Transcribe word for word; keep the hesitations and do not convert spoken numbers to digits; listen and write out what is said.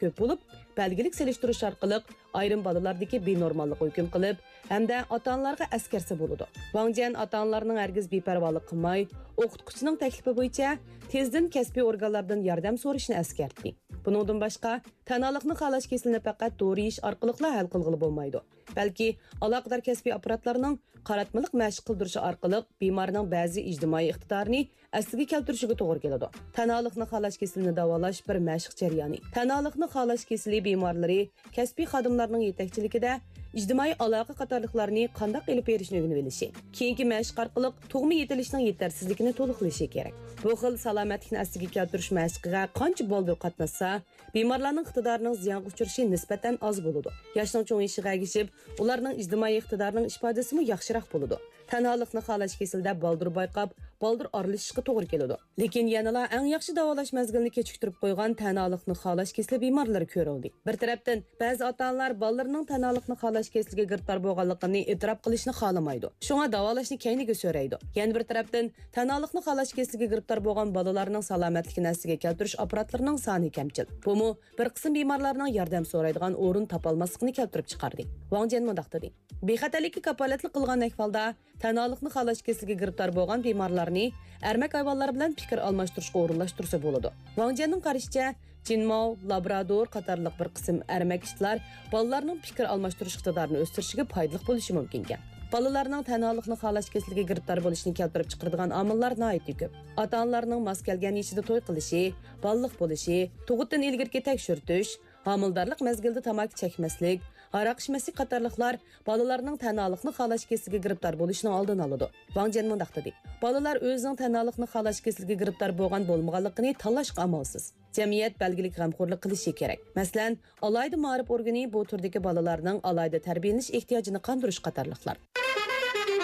كۆپ بولۇپ، بەلگىلىك سېلىشتۇرۇش ئارقىلىق ئايرىم بالىلاردىكى بىنورماللىققا ھۆكۈم قىلىپ، ھەمدە ئاتا-ئانىلارغا ئەسكەرسە بولىدۇ. ۋاڭ جيەن ئاتا-ئانىلارنىڭ ھەرگىز بىپەرۋالىق قىلماي، ئوقۇتقۇچىنىڭ تەكلىپى بويىچە تېزدىن كەسپىي ئورگانلاردىن ياردەم سورىشىنى ئەسكەرتتى. بۇنىڭدىن باشقا، تەنھالىقنى خالاش كېسىلىنى پەقەت دورا يېيىش ئارقىلىقلا ھەل قىلغىلى بولمايدۇ، بەلكى ئالاقىدار كەسپىي ئاپپاراتلارنىڭ قاراتمىلىق مەشىق قىلدۇرۇشى ئارقىلىق بىمارنىڭ بەزى ئىجتىمائىي ئىقتىدارىنى ئەسلىگە كەلتۈرۈشىگە توغرا كېلىدۇ. تەنھالىقنى خالاش كېسىلىنى داۋالاش بىر مەشىق جەريانى. تەنھالىقنى خالاش كېسىلى بىمارلىرى كەسپىي خادىملارنىڭ يېتەكچىلىكىدە ئىجتىمائىي ئالاقە قاتارلىقلارنى قانداق ئېلىپ بېرىشنى ئۆگىنىۋېلىشى، كېيىنكى مەشىق ئارقىلىق تۇغما يېتىلىشنىڭ يېتەرسىزلىكىنى تولۇقلىشى كېرەك. بۇ خىل سالامەتلىكنى ئەسلىگە كەلتۈرۈش مەشىقىگە قانچە بالدۇر قاتناشسا، بىمارلارنىڭ ئىقتىدارىنىڭ زىيانغا ئۇچرىشى نىسبەتەن ئاز بولىدۇ. ياشنىڭ چوڭىيىشىغا ئەگىشىپ، ئۇلارنىڭ ئىجتىمائىي ئىقتىدارىنىڭ ئىپادىسىمۇ ياخشىراق بولىدۇ. تەنھالىقنى خالاش كېسىلىدە بالدۇر بايقاپ، بالدۇر ئارىلىشىشقا توغرا كېلىدۇ. لېكىن يەنىلا ئەڭ ياخشى داۋالاش مەزگىلىنى كېچىكتۈرۈپ قويغان تەنھالىقنى خالاش كېسىلى بىمارلىرى كۆرۈلدى. بىر تەرەپتىن، بەزى ئاتا-ئانىلار بالىلىرىنىڭ تەنھالىقنى خالاش كېسىلىگە گىرىپتار بولغانلىقىنى ئېتىراپ قىلىشنى خالىمايدۇ. شۇڭا داۋالاشنى كەينىگە سۆرەيدۇ. يەنە بىر تەرەپتىن، تەنھالىقنى خالاش كېسىلىگە گىرىپتار بولغان بالىلارنىڭ سالامەتلىكىنى ئەسلىگە كەلتۈرۈش ئاپپاراتلىرىنىڭ سانى كەمچىل. بۇمۇ بىر قىسىم بىمارلارنىڭ ياردەم سورايدىغان ئورۇن تاپالماسلىقىنى كەلتۈرۈپ چىقاردى. ۋاڭ جيەن مۇنداق دېدى: بىخەتەرلىككە كاپالەتلىك قىلغان ئەھۋالدا، تەنھالىقنى خالاش كېسىلىگە گىرىپتار بولغان بىمارلارنى ئەرمەك ھايۋانلار بىلەن پىكىر ئالماشتۇرۇشقا ئورۇنلاشتۇرسا بولىدۇ. ۋاڭ جيەننىڭ قارىشىچە، جىنماۋ، لابرادور قاتارلىق بىر قىسىم ئەرمەك ئىتلار بالىلارنىڭ پىكىر ئالماشتۇرۇش ئىقتىدارىنى ئۆستۈرۈشىگە پايدىلىق بولۇشى مۇمكىنكەن. بالىلارنىڭ تەنھالىقنى خالاش كېسىلىگە گىرىپتار بولۇشىنى كەلتۈرۈپ چىقىرىدىغان ئامىللار ناھايىتى كۆپ. ئاتا-ئانىلارنىڭ ماس كەلگەن يېشىدا توي قىلىشى، بالىلىق بولۇشى، تۇغۇتتىن ئىلگىرىكى تەكشۈرتۈش، ھامىلىدارلىق مەزگىلىدە تاماكا چەكمەسلىك، ھاراق ئىچمەسلىك قاتارلىقلار بالىلارنىڭ تەنھالىقنى خالاش كېسىلىگە گىرىپتار بولۇشىنىڭ ئالدىنى ئالىدۇ. ۋاڭ جيەن مۇنداق دېدى: بالىلار ئۆزىنىڭ تەنھالىقنى خالاش كېسىلىگە گىرىپتار بولغان بولمىغانلىقىنى تاللاشقا ئامالسىز. جەمئىيەت بەلگىلىك غەمخورلۇق قىلىشى كېرەك. مەسىلەن، ئالاھىدە مائارىپ ئورگىنى بۇ تۈردىكى بالىلارنىڭ ئالاھىدە تەربىيەلىنىش ئېھتىياجىنى قاندۇرۇش قاتارلىقلار.